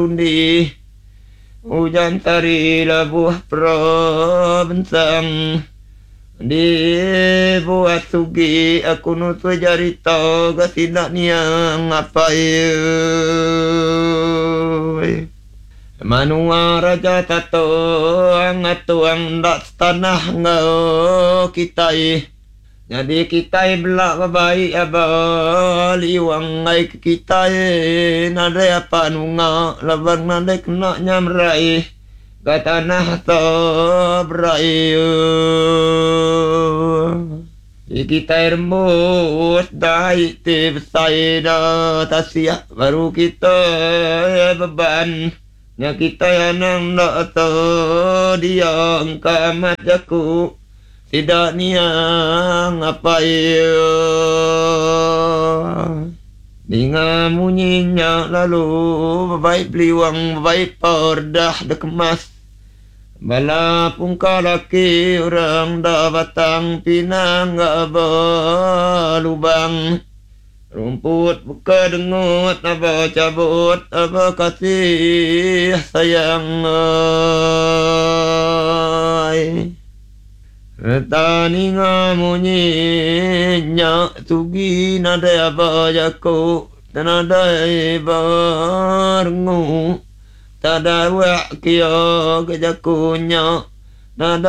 Undi ujan tari labuh perabensang Dibuat sugi aku nusui jarita ga sida niang apai. Menua Raja Tatong atuang enda setanah enggau kitai. Nyadi kitai bela bebai aba liwang enggai ke kitai nadai apan unga laban nadai kena nya merai ga tanah seberai. Ti kitai rembus dai ti besai da tasik baru kitai beban. Nya kitai anang enda sedia engka amat jaku sida niang apai iya. Ninga munyi nya lalu bebai beliwang bebai perdah dikemas. Bala pungka laki orang da Batang Pinang ga belubang rumput beka dengut aba chabut aba kasih sayang ai. Reta ninga munyi nya sugi nadai aba jaku tenadai ba rengu. Tada wak kia ke jaku nya.